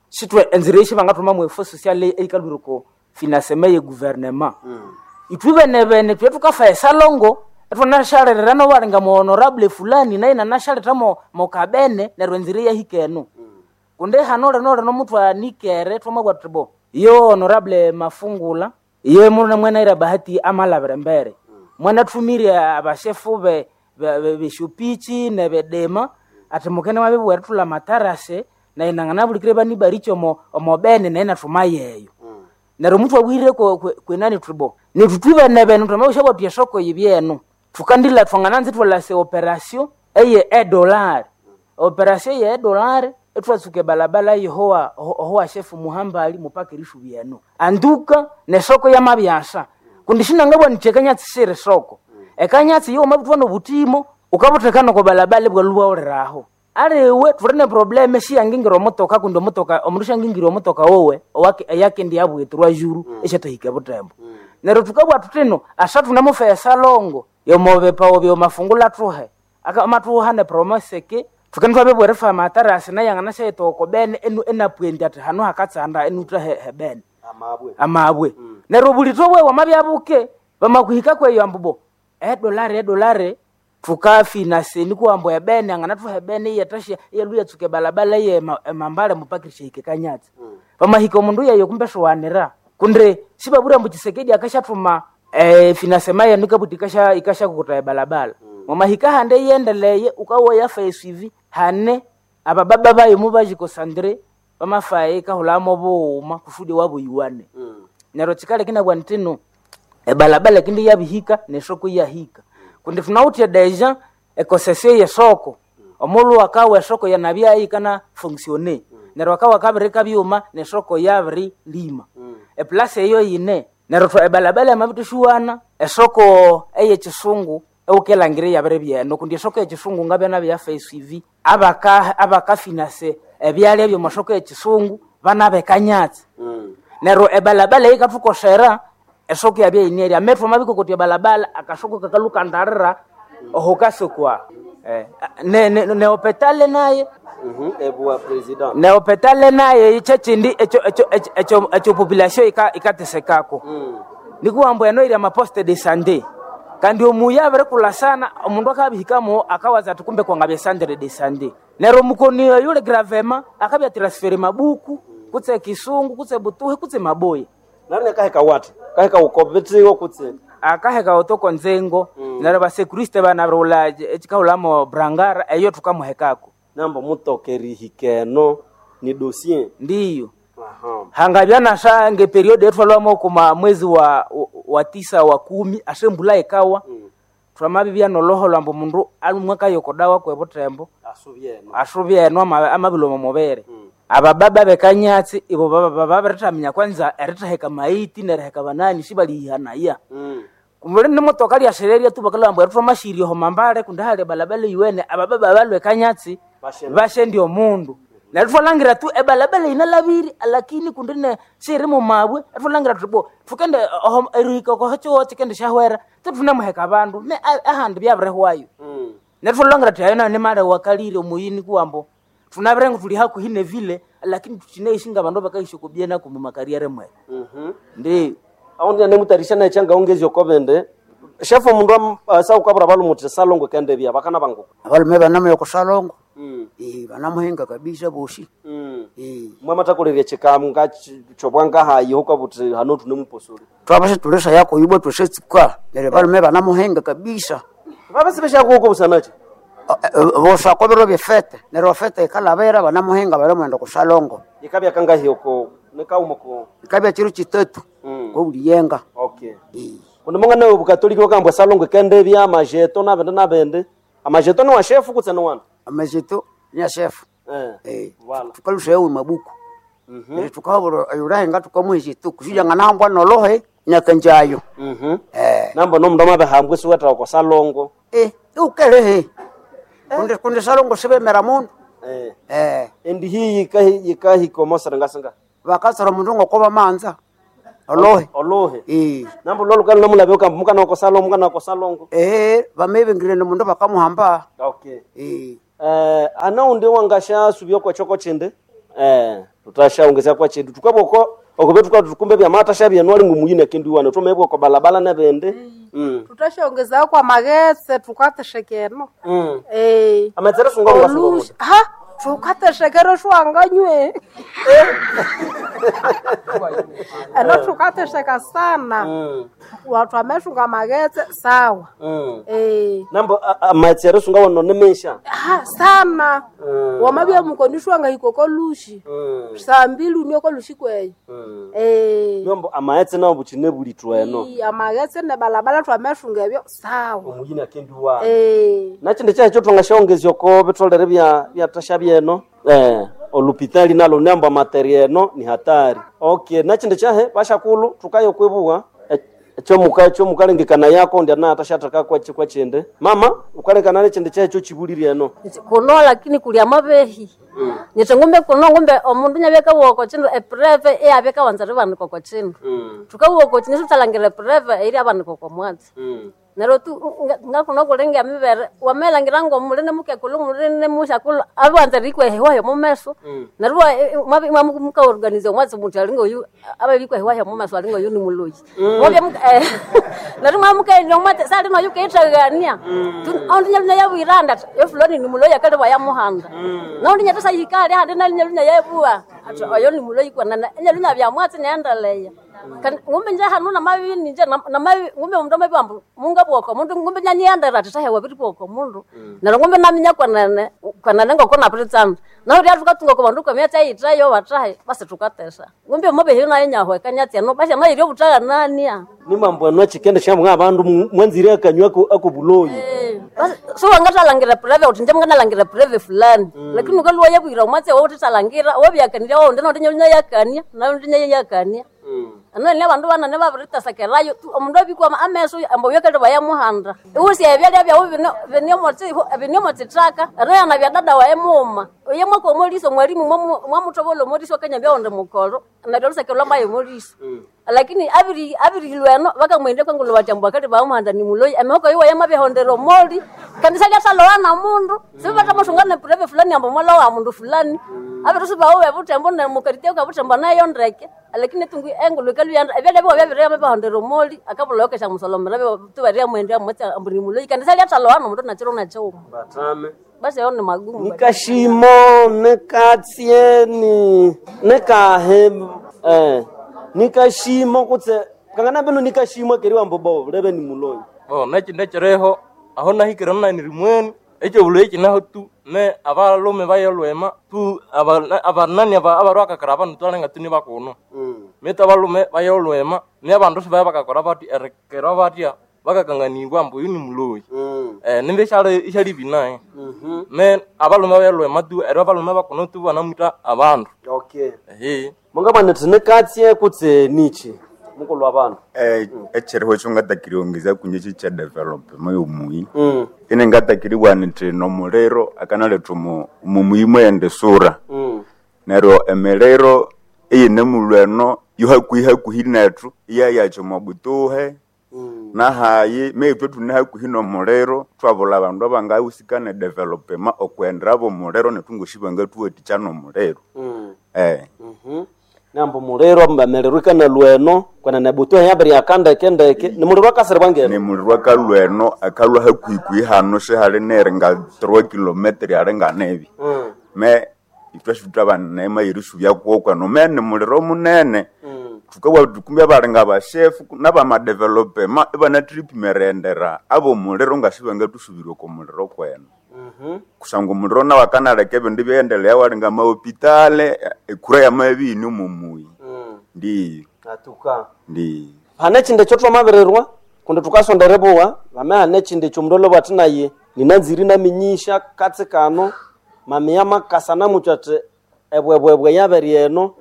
Sithwe enzira eyi sibangathuma mu efo sociale eyikalhwire oko finasema ye guvernema. Ithwe bene bene thwe thukafa esalongo ethwanashalirira nobalinga mu honorable fulani naye nanashaletha mo mokabene neryo enzira eyahika eno. Kundi hano lino lino muthwanikere thwamabugha thuthi bo yo honorable Mafungula ye muna mwenaira bahati amalabira embere. Mwanathumire abashefu be beshupichi nebedema ati mukene mwabibugha erithulha amatarase naye nanganabulikire bani omo omo bene naye nathuma yeyo. Neryo muthwabwire kwenani thuthi bo nithu thwibene bene thwamabusya thuthi esoko yibyeno thukandila thwangananza ithwalasa operation eye edolari. Operation ye edolari ethwatsuka ebalabala yehowa ohowa shefu Muhambali mupaka erisubi eno. Anduka nesoko yamabyasa kundi sinangabwa nithi ekanyatsi siri soko. Ekanyatsi yo mabithwa nobutimo ukabutheka noko balabala bwalhubaghuliraho. Aliwe thuli ne probleme siyangingira omutoka kundi omutoka omundu syangingira omutoka wowe eyakindi yabwithirwa juru esyathahika ebutembo. Neryo thukabugha thuthino asa thunemufa esalongo yomobipawo byomafungula thuhe amathuha ne promese ki thukende thwabibugha erifa amatarasi naye anganasyayitha oko bene enu enapwendi athi hano hakatsanda enutha hebene Amabwe. Amabwe. Neryo bulitho bwewe wamabya buke bamakuhika kweyo ambu bo edolari edolari thukafinase nikuwambu ebene anganathuha ebene iyathasya iyalhu yatsuka ebalabala ye emambale mupakirisya hika ekanyatsi. Bamahika omundu yeyo kumbe siwanira kundi sibabwire ambu Tshisekedi akasyathuma eh, finasema yenu ikabuthi ikasya ikasyakukuta ebalabala. Mwamahika handi iyendeleye ukawoya yafa esuivi hane abababa bayo mubajikosandire bamafaye ikahulamo bughuma kusudi wabuyiwane. Neryo kikaleka inabugha nthino ebalabala kindi yabihika nesoko iyahika. Kundi thunawithe deja ekosesio yesoko omulhu akawa esoko yanabya yikana fonctionner. Neryo akawa kabirika byuma nesoko yabirilima. Eplasi eyo yine neryo ebalabala yamabithishuwana esoko eyekisungu ewukelhangira iyabiribya eno kundi esoko eyekisungu ngabya nabyo yafa esuivi abaka abakafinase ebyalya by'omasoko ekisungu bana bekanyatsi. Neryo ebalabala yikathukosera esoko yabya yinerya amethu amabikokotya ebalabala akasoko kakalhukandarira oho kasokwa. Eh, ne ne neopetale naye Ebuwa president. neopetale naye kyekyindi ekyo ekyo ekyo ekyo population ika ikatesekako. Nikuwambu eno iri amaposte de sante kandi omuya abirikulasana omundu akabihikamo akawaza ati kumbe kwangabya centre de sante. Neryo omukoni oyo yuli gravema akabya transfere mabuku kutse kisungu kutse butuhe kutse maboya. Nari nakaheka wati kaheka ukobitiwo kutse akaheka otoko nzengo neryo basekuriste banabirighulha ekikahulhamo brangara eyo thukamuhekako. Nambo mutoka erihika eno ni dossier. Ndiyo. Hangabya nasha nge period ethwalhwamo kuma mwezi wa, wa tisa wa kumi ase embulha yikawa thwamabibya noloholho ambu omundu alumwe akayokodawa kwebutembo asubye eno amabilwa omo mubiri. Abababa bekanyatsi ibo babirithaminya kwanza erithaheka maiti neriheka banani sibaliyihanaya. Kumbe nemotoka lyashererya tu bakalhwa ambu erithwamasirya oho mambale kundi hali ebalabala eyiwene abababa abalhwa ekanyatsi bashendya omundu. Neryo thwalhangira tu ebalabala yinalhabire lakini kundi ne siyiri mu mabwe ethwalhangira thuthi bo thukende oho erihika oko kyihugho kyikendisyahwera ithunemuheka abandu ne ahandi byabirihwayo. Neryo thwalhangira thuthi ayo nayo nimali wakalire omuyini kuwambu thunabire thuli hakuhi nevile lakini thukyinaishi ngabandu abakayisya oko byena komu makariere mweru. Ndiyo. Aho nemutarisha naye kyangaongezya oko bindi shefu omundu saukabura balume uthi salongo kendebya bakana banguku. Abalume banamuya oko salongo. Eh, banamuhinga kabisa bosi. Eh. Mwamathakolerya kyikamga kyobwangahayi hukabuthi hano thunemuposoli. Twabase tulisa yako yibwa twesetsuka neryo balume banamuhinga kabisa. Babasibeshakuko busanachi. Bosa kobiro byefete neryo fete ikalabera banamuhinga balimwenda oko salongo. Yikabya kangahi oko nikauma ko Ikabya kiro kitatu kobuliyenga. Okay. Kundi mungana obukatoliki bakambwa salongo kendebya amajeto nabindi nabindi. Amajeto ni wa shefu kutse ni wanda. Amajeto ni ya shefu. Eh. Eh. Wala. Tukalusha mabuku. Neryo tukabura ayurahenga tukamuha ekitu kusija nganahambwa nolohe nyakanjayo. Mhm. Eh. Nambo nomundu amabihambwa isiwetha oko salongo. Eh, ukelehe. Kundi kundi salongo sibemera mundu. Eh. Eh. Endi hiyi yikahika omosere ngasinga. Bakatsora omundu ngokoba manza. Olohe. Olohe. Eh. Nambo lolukalo namulabe ukambu mukana okosalongo mukana okosalongo. Eh, bamebengire nomundu bakamuhamba. Okay. Eh. Eh, ana undi wangasha subya kwa choko chinde. Eh, tutashaongezea kwa chindi. Tukaboko okube tukatukumbe bya mata shabya nwali ngumuyine kindu wana tumebwa kwa balabala nebende. Mm. Tutashongezao kwa maghetse tukateshekeno. Mm. Eh. Ametsere sunga ngwa sunga. Olush- Ha, tukateshekero shwanganywe. Eno tukatesheka sana. Mm. Watu ameshunga maghetse sawa. Mm. Eh. Nambo amatsere sunga wono nemesha. Ha, sana. Mm. Wamabya mukonishwanga ikoko lushi. Mm. Saa mbili unioko lushi kweyo. Mm. Eh. Nombo amaetse nawo buchine bulitwa eno. Ii, amaghetse ne balabala twameshunga ebyo sawa. Omuyine kindu wana. Eh. Nachinde chacho twangashaongezya ko bitolere bya byatasha byeno eh olupitali nalo nembo materi eno ni hatari. Okay, nachinde chahe bashakulu tukayo kwebuwa ekyomuka ekyomukalengekana yako ndi anatashataka kwa kwa chinde mama ukalekana nechinde chahe chibuliri eno Kuno lakini kulia mabehi. mm. Nyete ngumbe kuno ngumbe omundu nyabeka woko chindu epreve eyabeka wanza ribanikwa kwa chindu. Mm. Tukawoko chindu tutalangira epreve eri abanikwa kwa mwatsi. Mm. Neryo tu ngakuno kulenga mibere wamelangira ngo mulene mukekulu mulene mushakulu abanza rikwehewayo mumeso. Mm. Neryo muka organize omwatsi muthi alinga oyu ababikwehewayo mumeso alinga oyu ni muloyi. Mwabya muka eh, neryo mwamukaenda omwatsi salino oyu keithagania. Ondi nyalunya yabwiranda ati yo fulani ni muloyi akali bwayamuhanda. Naundi nyatasa yikali handi nalinyalunya yebua ati oyo ni muloyi kwanana enyalunya byamwatsi nyaendeleya. Kandi ngumbe nje hanu namabi ninje namabi ngumbe omundu amabi ambu mungabwoka omundu ngumbe nyanyiendera ati tahewa biribwoka omundu. Neryo ngumbe naminya kwanene kwanene ngoko napiritsana. Naho tukatunga kwa bandu kwamyatsi ayithayo batahe basi tukatesa. Ngumbe omubehi nayo nyahweka nyatsi eno basi amayiri obutaghanania. Nimambo eno chikende shamwa abandu mwanzire akanywa ako ako buloyi. Basi so wangathalangira preve uthi nje munganalangira preve fulani. Lakini ukaluwa yabwira omwatsi wawu uthithalangira wabyakania wawundi naundi nyalunya yakania naundi nyayakania. Ano ni abandu banane babiritasakerayo tu omundu abikwama ameso ambo byakali bayamuhanda. Iwusi ebyalya byawu bino binyomo binyomo tsithaka ano yana bya dada wae muuma. Oye mwaka omoliso mwalimu mwamuthobola omoliso akanyambya wundi mukolo neryo olusakerwa lwamaye omoliso. Lakini abiri abirilweno bakamwenda kwangulu bathi ambu akali bamuhanda ni muloyi emihoko yiwe yamabihondera omoli kandi salyatalowa na mundu sibatamasunga ne preve fulani ambu mwalowa mundu fulani abirisibawo bebuthembo nemukaritya kabuthembo nayo ndeke lakini tungu engulu ikaluyanda ebyalya biwa byabiri yamabihondera omoli akabulokesha musolomera tubaria mwenda mwatsi ambu ni muloyi kandi salyatalowa nomundu nakiro nakiwuma. Batame. Basi ayo ni magumu. Nikashimo nikatsye ni nikahe eh nikashimo kutse kangana bino nikashimo keri wambo bo lebe ni muloyi. Bo nekindi ekireho aho nahikire naniri mweni ekyobuloyi kinaho tu ne abalume bayolwema tu aba- abanani aba- abarwakakara abandu twalenga tu nibakuno mitu abalume bayolwema ni abandu sibaya bakakora bathi erikera batya bakakanganibwa ambu oyu ni muloyi. Eh, nimba isyali isyali binaye me abalume bayolwema tu eri abalume bakuno tu banamwita abandu. Okay. Ehe. Mungabana nikatye kutse nichi mukulu wa bandu. Eh, ekiriho ekyo ngatakiriongeza kunye kyi development yomuyi Mm. ine ngatakiribwa nti nomuliro akanaletha omu omu muyi mwende sura. Mm. Neryo emiliro eyine mulhu eno yo hakuhi hakuhi nethu iyayakya omo butuhe nahayi meithwe thune hakuhi nomuliro thwabulha abandu abangahusika ne development okwenderabo omuliro nethu ngosi bangathuwathikya nomuliro. Mm. Eh. Mhm. Nambo muliro mbamelero ikana lweno kwana nebutuhe yabiri akandeke ndeke ni muliro akasiribwa ngeno. Ni muliro akalwa eno akalwa hakuhikuhi hano sihali neri nga three kilometer ali nganebi. Mm. Me ithwe sithwabanema erisubya kwoko me ni muliro munene. Thukabugha thuthi kumbe abali ngabashefu nabamadevelopema ibanathiripima erighendera abomuliro ngasibangathusubirya oko muliro kweno. Mhm. Kusangwa omuliro nawu akanaleka ebindu ibyayendelea wali ngamahopitale ekura yamabya iyine omo muyi. Mm. Ndiyo. Atuka. Ndiyo. Hane echindi ekyo twamabirirwa kundi thukasonda eribuwa vame hane echindi ekyo omundu olhobwa athi naye ninanzire inaminyisha katsi kano mamiya makasa namuthwa athi ebwebwebwe yabere eno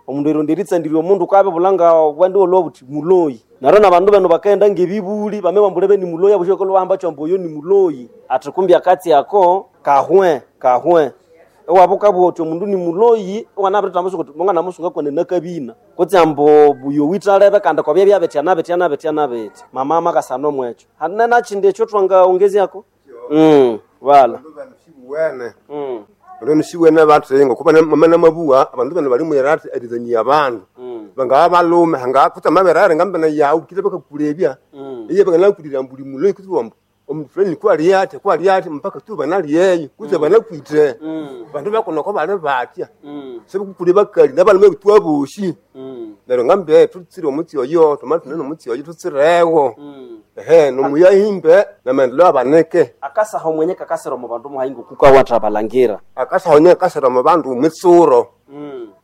omundu eronda eritsandirya omundu ukabibulha nga bwandi olhwa buthi muloyi. Neryo nabandu benu bakaghenda ngebibuli bame bambulha beni muloyi abusyoka lwahamba kyambu oyo ni muloyi athi kumbi akatsi ako kahwe kahwe. Ewabuka bwoti omundu ni muloyi iwanabirithamba kuti mongana musunga kone nakabina kutse ambu buyo witalebe kandi kobya byabetya nabetya nabetya nabetya mama amakasana omwekyo hanene nakindi ekyo twangaongezyako mm wala wene bandu siwene bathenga kuba mama mabuwa abandu bano bali mwera ati erizanyia abandu bangaba balume hanga kutsa mabere arenga mbene yawu kile bakakulebya iye banganakulira mbuli muloyi kutsi wambu omundu fulani kwali ati kwali ati mpaka tu banaliyeyo kutse banakwite bandu bakunoko bali batya sebakukule bakali nabalume bitwa boshi neryo ngambe tutsire omutsi oyo tomali tunene omutsi oyo tutsirewo ehe nomuyahimbe namaendeleo abaneke akasaha omwenye kakasira omu bandu muhaingo kukawatha balangira akasaha onye kakasira omu bandu mwitsuro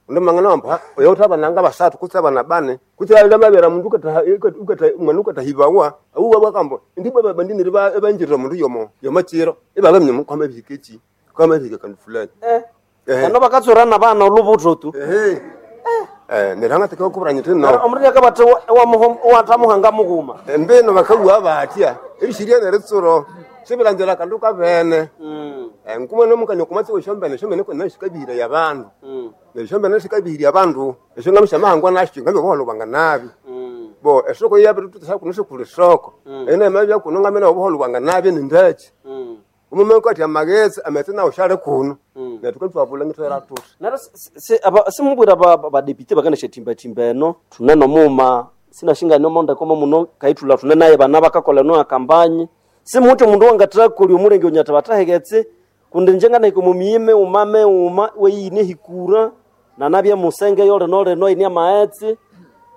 undi mangana wambu oyo uthi abananga basathu kutse abana bane kutse alamabera mundu ukatha ukatha mwana ukathahibawa awuwa bakambo ndi baba bandinire ebanjirira mundu yomo yomachiro ibaba mnyamo kwama bihikechi kwama bihike kandu fulani eh ano bakatsura bana olubuto tu ehe eh neranga tekakubura nyite no omurya kabata owatamuhanga mughuma embino bakabuwa batya ebishiria neritsuro sibilanzira kandu kabene eh nkuma nomukanya kumatsi shombene shombene kona shikabihira ya bandu ne shombene shikabihira abandu esho ngamisha mahangwa nasho ngabe boholo banga nabi bo esoko yabe tutsa kuno shikuli soko ene mabya kuno ngamena obuholo banga nabi nindachi umume kwati amagezi ametse nawo shale kuno netukatwabula ngitwera tuti nero simubwira badepite bakaneshatimbatimba eno thune nomuma sinashingani omonde komo muno kaithula thune naye bana bakakola eno akambanyi simuthi omundu wangathakolya omulenge onyatha bathaheketse kundi njenganahika omu miyime uma meuma weyine hikura nanabya musenge yolino lino ine amaghetse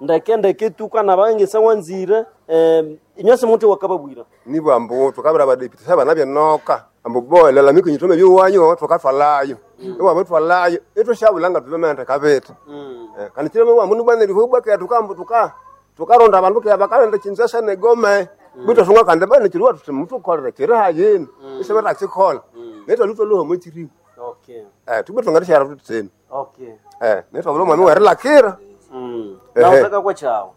ndeke ndeke tu kana bangisa wanzire eh, inywe simuthi wakababwira nibo ambu tukabira badepite sabana byenoka ambu bo lalamika nyitome byuwanyo tukathwalayo iwabo thwalayo itwashabulanga tubemende kabita Eh, kandi chileme wambu nibwana lihubwa tukambu tuka tukaronda abandu ke bakalenda chinzasa negome bito sunga kandi bana chiriwa tuti mutukolera chiri hayini isebera chikola netwa lutwa luho muchiri okay eh tube tungatishara tutseni okay eh netwa bulo mwami werilakira mm Ehe. nautaka kwachawo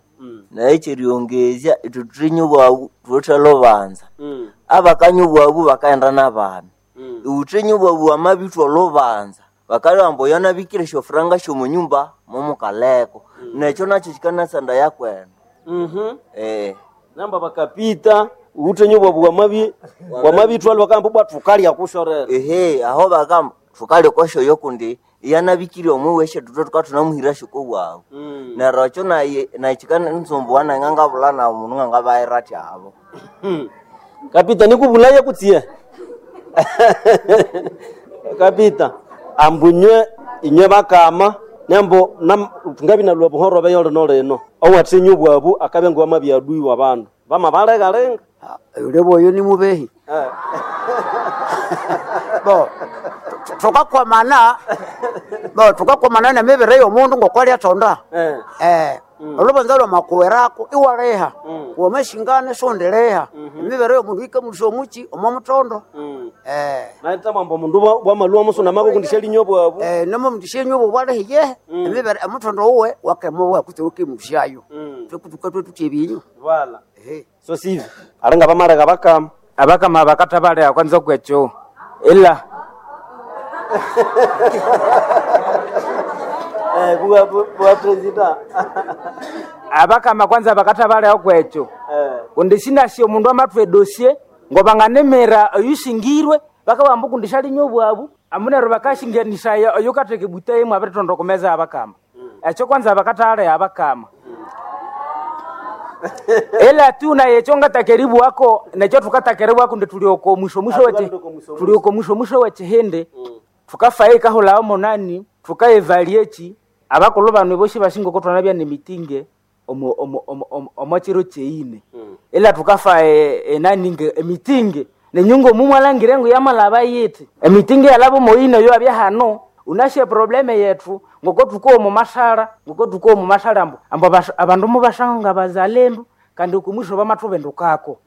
naye kyeriongezya ithwe thulinye obwabu thuwithe lubanza Mm. abakanya obwabu bakaghenda n'abana iwuthenye obwabu wamabithwa olubanza bakaleba ambu oyo anabikire esyofuranga syomunyumba mumukaleko nekyo nakyo kikanasanda yakwenda mhm eh namba bakapita uthenye obwabu wamabi wamabithwa bakamba bwa thukalya kushorera ehe aho bagamba thukalya kwasyoyo kundi iyanabikire omwiwe esyathuthwe thukathuna syokobwabu neryo ekyo naye naye kikanitsumbuwa naye ngangabulha nawo mundu ngangabayira athi abo kapita nikubulaye kutsie kapita ambu inywe inywe bakama nembo nam- thungabinalwa buhoro beyo lino lino owathenye obwabu akabya ngowamabyaduiwa abandu bamabalegalenga yule boyo ni mubehi bo tu- tukakwamana bo tukakwamana nemibiri yomundu ngokwalyathonda eh olubanza lwamakuwerako iwaleha wamashingana sondileha emibiri yomundu ikamulusya omuchi omo mutondo eh naitama mundu bwamalwa musuna mako kundisha linyo bwabu eh nomo mundisha nyobo bwalehiye emibiri omutondo uwe wakemowa kutse ukemulusyayo twekutuka twetuty ebinyu wala so sivyo alinga bamaleka bakama abakama bakatha baleha kwanza kwekyo ila eh buwa buwa president abakama kwanza bakatha baleha kwekyo kundi sinasyo omundu amathwa edosie ngobanganemera oyusingirwe bakabamba kundi syalinywa obwabu amu neryo bakashinganisaya oyukatheka ebuta imwe abiritonda okumeza abakama ekyo kwanza bakathalea abakama ila tu naye ekyo ngatakeribwako nekyo thukatakeriwako ndi tuli oko mwisho mwisho weche tuli oko mwisho mwisho wekihindi thukafayo ikahulawo munani thukaevalia eki abakulhu bano bosi basinga okutwanabya nemitinge omo- omo- omo- omo- omo kiro kyeine ila thukafa e- enani nge emitinge nenyunga omu mwalangire ngu yamalaba yithi emitinge yalaba omoyina oyo abya hano unashe probleme yethu ngoko thukowa omu masara ngoko thukowa omu masara ambu ambu abas- abandu mubashanga bazalendu kandi okumwisho bamathubindukako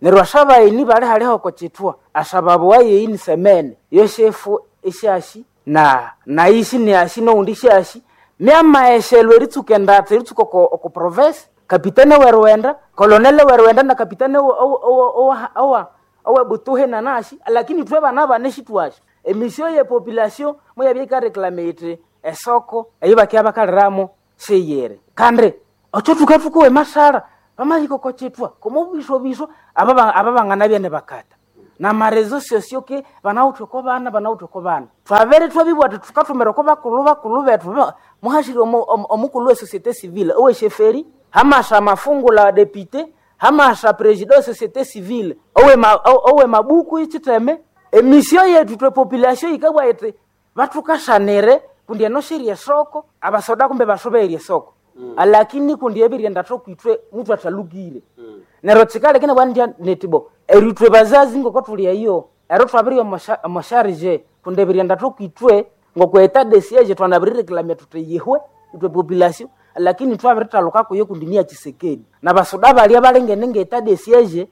neryo ashabayini bali haliho oko kithwa ashababuwa yeini semene yosefu esyashi na naisi niashi noundi syashi myamaeshelwa eritsuka endatha eritsuka oko oko province kapitene werwenda kolonele werwenda na kapitene owa- owa- owa- owa owebutuhe nanashi lakini thwe bana bane shitwashi Emisio ye population muyabya ikareklame iti esoko eyo bakya bakaliramo siyiri. Kandi ocho tukatukuwa emasara pamahika oko chitwa komo biswa biswa aba aba banganabya ne bakata na marezo sosio ke banawuthe oko bana banawuthe oko bana twabere twabibwa ati tukathumira oko bakulu bakulu bethu ba- muhashire omu- omu- omukulhu we société civile owesheferi hamasa amafungula député, hamasa president wa société civile owe ma, owe mabuku ichiteme. Emisio yetu twe population ikabwa iti bathukashanire kundi eno shiri esoko abasoda kumbe bashobeire esoko mm. Alakini kundi ebiryenda thokwithwe muthu athalukire mm. Neryo kikaleka bwandya netibo eritwe bazazi ngoko thuli eyo ero twabiri omosharije kundi ebiryenda thokwithwe ngoko eta de siege twanabirireklamia thuthi yihwe itwe population, lakini twabirithaluka kuyo kundi niya Chisekedi na basoda balya balengene ngeta de siege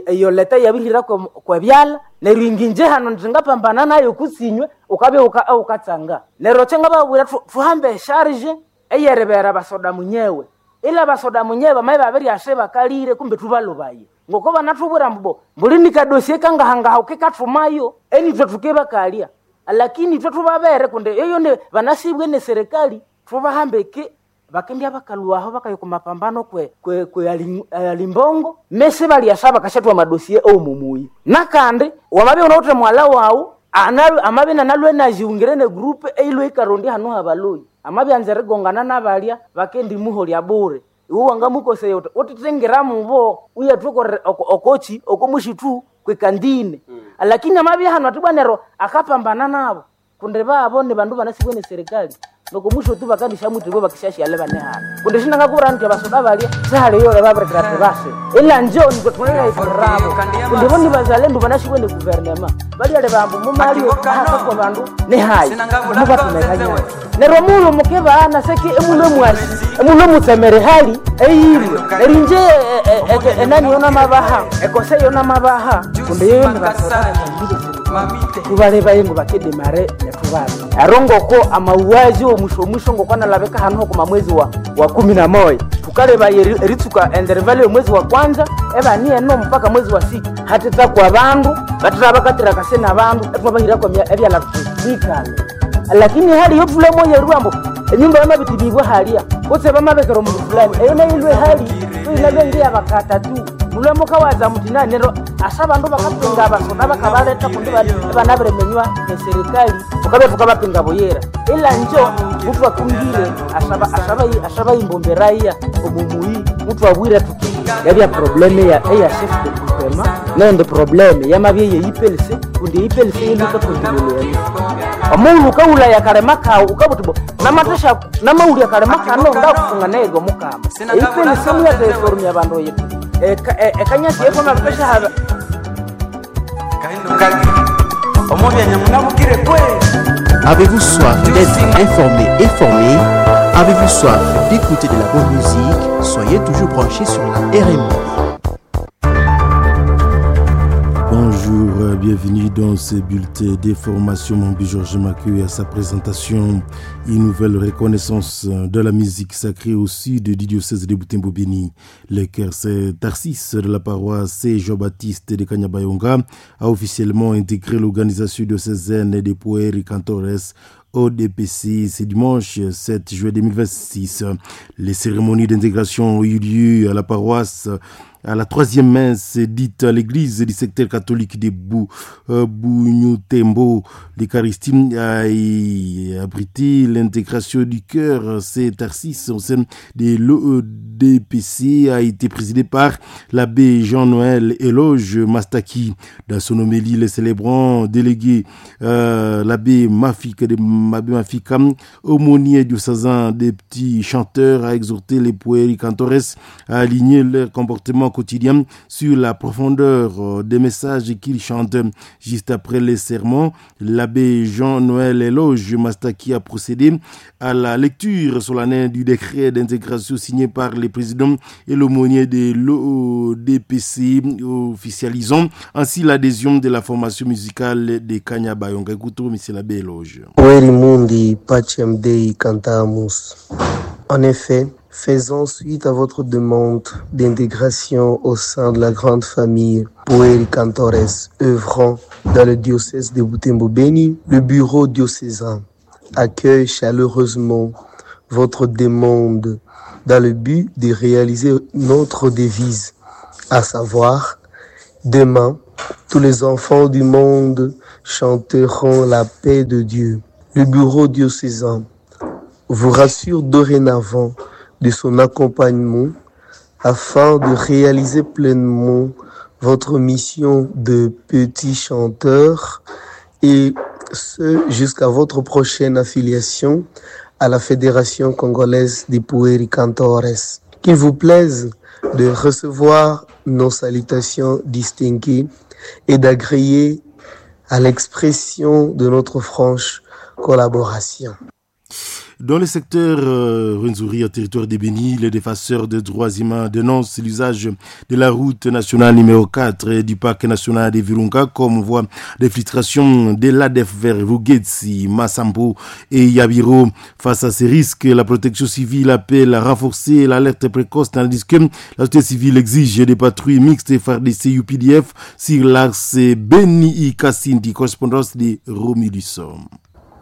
eyo leta yabirihira kwebyala neryo inginje hano ndingapambana nayo kusinywe ukabya uka- ukatsanga neryo kyangababwira thu- thuhambe esharge eyerebera basoda munyewe ila basoda munyewe bamaye babiryashe bakalire kumbe thubalubaye ngoko banathubwira mbu mbuli nikadosie kangahangaha ukikathumayo enithwe thukebakalya, lakini ithwe thubabere kundi eyo ne banasibwe ne serikali thubahambe ke bakendya bakalwaho bakaya kumapambano kwe kwe, kwe ali- alimbongo mese balyasa bakashathwa madosie omumuyi nakandi wamabya unawuthe mwala wawu analwe amabya nanalwe najiungire ne group eilwe ikarondi hanu habaloi amabya anza erigongana nabalya bakendi muholya bure iwe wangamukoseya uti utithingira mubo uyathukorera okochi okomushitu kwekandine mm. Lakini amabya hanu atibwa nero akapambana nabo kundi babo ni bandu banasibwe ne serikali nokomusho tu bakandishamwitibwe bakishashyale bane hano kundi shinangakubwira nti abasoda balya sihaliyo babirekera tibase ila njo nitwe kundi bo ni bazalendu banashibwe ne guvernema balyale bambu mumalio ahakakwa bandu nihayi mubatumekanyana neryo mulo mukebana seki emulo mwasi emulo mutsemere hali eyirwe neryo inje enani yona mabaha ekose yona mabaha kundi yeyo ni basoda tubaleba ngo bakedemare netubala ero ngoko amauaji omusho omusho ngoko analabeka hanu hokuma mwezi wa, wa kumi na moya tukaleba eri- eritsuka enderevali omwezi wa kwanza ebani eno mpaka mwezi wa sita hatitakwa bandu batira bakatira kasena bandu etwabahirako ebyala tutikale lakini hali yotulemo yerwambo enyumba yamabitibibwa halia kutse bamabekera omundu fulani eyo nayilwe hali toyinalwe bakata tu mulwemo kawaza muti nanero asa bandu bakapinga abasoda bakabaleta kundi banabiremenywa eserikali tukabya tukabapinga buyira ila njo mutu akungire asaba asaba asaba imbomberaia omumuyi mutu abwire tuti yabya probleme ya eya chef de groupement nende probleme yamabye yeipelse kundi ipelse iluka kundilolweni omundu ukawulaya kalema kawu ukabuti bo namatesha namaulya kalema kano ngakufunga naye mukama eipelse muyateforumya bandu yitu ekanyasi yekomabikesha haba Avez-vous soif d'être informé et formé? Avez-vous soif d'écouter de la bonne musique? Soyez toujours branchés sur la R M I. Bonjour, euh, bienvenue dans ce bulletin d'information. Mon Georges Macu à sa présentation. Une nouvelle reconnaissance de la musique sacrée au sud du diocèse de Butembo-Beni. Le chœur Tarsis de la paroisse Saint Jean-Baptiste de Kanyabayonga a officiellement intégré l'organisation diocésaine des Pueri Cantores O D P C ce dimanche sept juillet deux mille vingt-six. Les cérémonies d'intégration ont eu lieu à la paroisse à la troisième messe dite à l'église du secteur catholique de Bou, euh, Bougnou-Tembo. L'Eucharistie a abrité l'intégration du chœur Saint Tarsis au sein de l'O D P C a été présidée par l'abbé Jean-Noël Éloge Mastaki. Dans son homélie, le célébrant délégué euh, l'abbé Mafika de l'abbé Mafika, aumônier diocésain des petits chanteurs, a exhorté les pueri cantores à aligner leur comportement quotidien sur la profondeur des messages qu'ils chantent. Juste après les sermons, l'abbé Jean-Noël Éloge Mastaki a procédé à la lecture solennelle du décret d'intégration signé par les présidents et l'aumônier de l'O D P C, officialisant ainsi l'adhésion de la formation musicale de Kanyabayonga. Écoutons monsieur l'abbé Éloge. Pueri mundi pacem Dei cantamus. En effet, Faisant suite à votre demande d'intégration au sein de la grande famille Pueri Cantores œuvrant dans le diocèse de Butembo-Beni, le bureau diocésain accueille chaleureusement votre demande dans le but de réaliser notre devise, à savoir, demain, tous les enfants du monde chanteront la paix de Dieu. Le bureau diocésain vous rassure dorénavant de son accompagnement afin de réaliser pleinement votre mission de petit chanteur et ce jusqu'à votre prochaine affiliation à la Fédération congolaise des Pueri Cantores. Qu'il vous plaise de recevoir nos salutations distinguées et d'agréer à l'expression de notre franche collaboration. Dans le secteur euh, Rwenzori, au territoire de Beni, les défenseurs des droits humains dénoncent l'usage de la route nationale numéro quatre et du parc national de Virunga comme voie d'infiltration de l'A D F vers Rugezi, Masambo et Yabiro. Face à ces risques, la protection civile appelle à renforcer l'alerte précoce tandis que la société civile exige des patrouilles mixtes F A R D C U P D F sur l'axe Beni-Kasindi, correspondance de Romulus.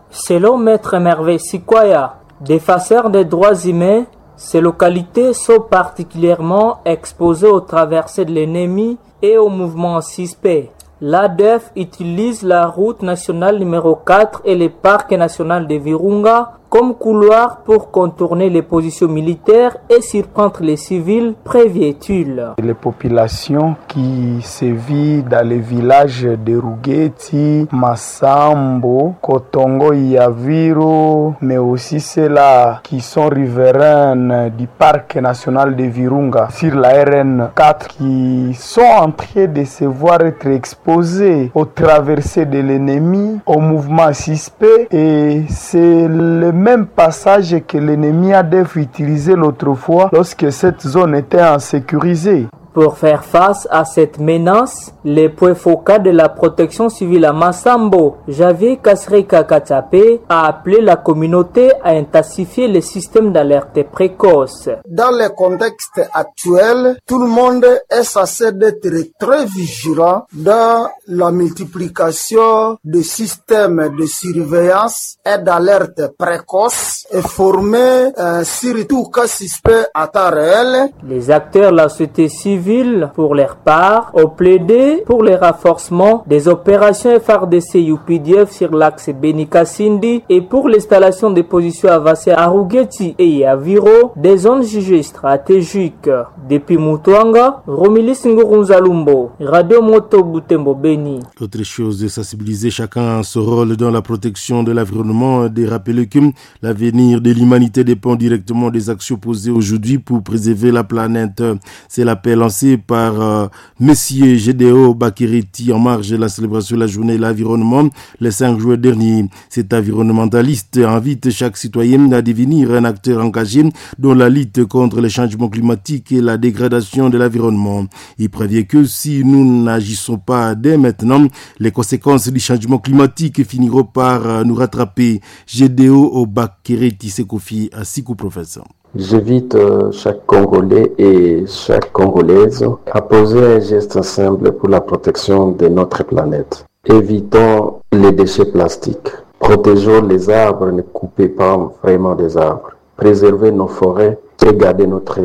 Selon Maître Merveille Sikwaya, défenseur des droits humains, ces localités sont particulièrement exposées aux traversées de l'ennemi et aux mouvements suspects. L'A D F utilise la route nationale numéro quatre et le parc national de Virunga comme couloir pour contourner les positions militaires et surprendre les civils, prévient-il. Les populations qui sévissent dans les villages de Rugeti, Masambo, Kotongo, Yaviro, mais aussi ceux-là qui sont riveraines du parc national de Virunga sur la R N quatre, qui sont en train de se voir être exposés aux traversées de l'ennemi, au mouvement suspect, et c'est le même passage que l'ennemi A D F utilisait l'autre fois lorsque cette zone était insécurisée. Pour faire face à cette menace, les points focaux de la protection civile à Masambo, Javier Kasreka Katsape, a appelé la communauté à intensifier les systèmes d'alerte précoce. Dans le contexte actuel, tout le monde est censé d'être très vigilant dans la multiplication de systèmes de surveillance et d'alerte précoce et former euh, surtout cas suspect à temps réel. Les acteurs de la société civile, pour leur part, ont plaidé pour le renforcement des opérations F A R D C U P D F sur l'axe Beni-Kasindi et pour l'installation des positions avancées à Rugeti et à Viro, des zones jugées stratégiques. Depuis Mutwanga, Romilis Ngurunzalumbo, Radio Moto Butembo Beni. Autre chose, de sensibiliser chacun à son rôle dans la protection de l'environnement, de rappeler que l'avenir de l'humanité dépend directement des actions posées aujourd'hui pour préserver la planète. C'est l'appel lancé par euh, Monsieur Gédéo Bakiriti en marge de la célébration de la journée de l'environnement le cinq juin dernier. Cet environnementaliste invite chaque citoyen à devenir un acteur engagé dans la lutte contre les changements climatiques et la dégradation de l'environnement. Il prévient que si nous n'agissons pas dès maintenant, les conséquences du changement climatique finiront par nous rattraper. Gédéo Bakiriti s'est confié à Sikou Professeur. J'invite chaque Congolais et chaque Congolaise à poser un geste simple pour la protection de notre planète. Évitons les déchets plastiques. Protégeons les arbres, ne coupez pas vraiment des arbres. Préservez nos forêts et gardez notre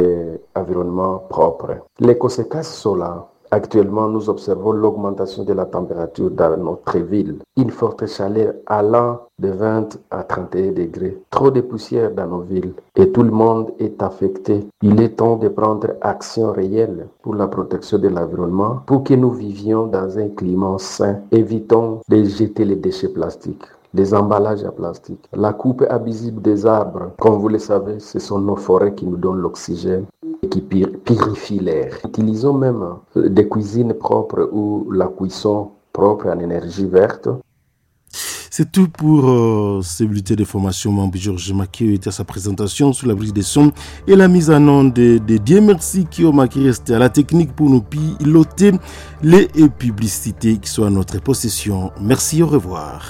environnement propre. Les conséquences sont là. Actuellement, nous observons l'augmentation de la température dans notre ville. Une forte chaleur allant de vingt à trente et un degrés. Trop de poussière dans nos villes et tout le monde est affecté. Il est temps de prendre action réelle pour la protection de l'environnement, pour que nous vivions dans un climat sain. Évitons de jeter les déchets plastiques, les emballages à plastique, la coupe abusive des arbres. Comme vous le savez, ce sont nos forêts qui nous donnent l'oxygène et qui purifient l'air. Utilisons même des cuisines propres ou la cuisson propre en énergie verte. C'est tout pour euh, ce bulletin de formation. Mambi Georges Makieu était à sa présentation sous la brise des sons et la mise en onde de, de Dieu merci qui au Maki reste à la technique pour nous piloter les publicités qui sont à notre possession. Merci, au revoir.